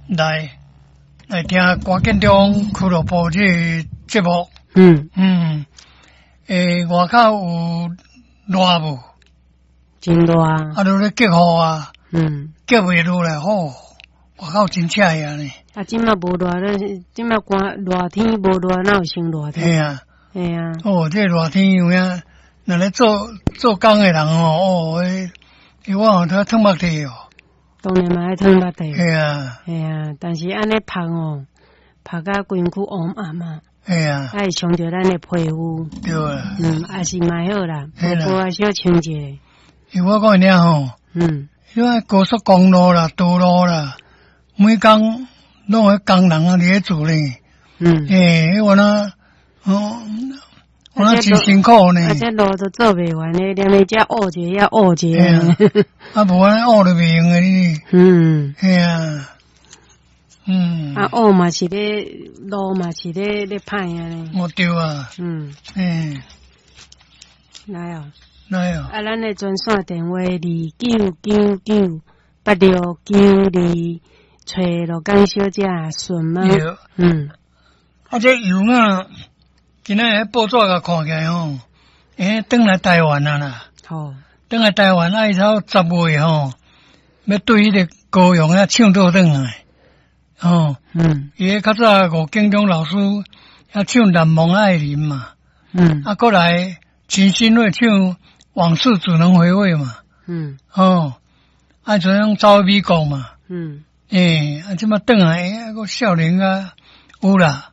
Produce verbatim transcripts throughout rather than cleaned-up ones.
來來聽歌建中俱樂部這个節目。嗯，嗯，欸，外口有熱無？真熱。啊，都咧結雨啊，嗯，結袂落來吼，外口真赤啊呢。啊，這馬無熱咧，這馬寒熱天無熱，哪有先熱天？嘿啊，嘿啊。哦，這熱天有影，若咧做做工的人吼，哦，彼彼我吼都淌目涕哦。當然嘛愛淌目涕。嘿啊。嘿啊，但是按呢曬哦，曬甲規身軀烏暗啊。嘿啊。愛傷著咱的皮膚。對啊。嗯，也是嘛好啦，無過小穿一下。因為我講你吼，嗯，因為高速公路啦、道路啦，每工攏有工人啊佇咧做咧。嗯。欸，我那，哦，我那真辛苦呢。啊，這路都做袂完咧，連咧遮挖一下，挖一下。啊，無按呢挖就袂用的呢。嗯。嘿啊。嗯。啊，挖嘛是咧，路嘛是咧咧歹按呢。哦，對啊。嗯。嗯。來哦。來哦。啊，咱的專線電話二九九九八六九二，揣羅江小姐順嗎？對。嗯。啊，這油啊，今仔日報紙共看起來吼，欸，轉來台灣啊啦。好。轉來台灣啊，伊頭十月吼，欲對彼個高雄遐唱倒轉來。吼。嗯。伊較早吳建中老師遐唱《難忘愛人》嘛。嗯。啊，閣來陳新睿唱《往事只能回味》嘛。嗯。哦，啊，就種走美國嘛。嗯。欸，啊，這馬轉來，啊，閣少年啊，有啦。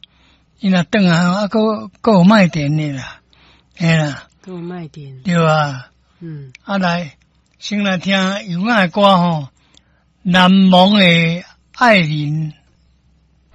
伊若轉來，啊，閣閣有賣點的啦，嘿啦。閣有賣點。對啊。嗯。啊，來，先來聽尤雅的歌吼，《難忘的愛人》。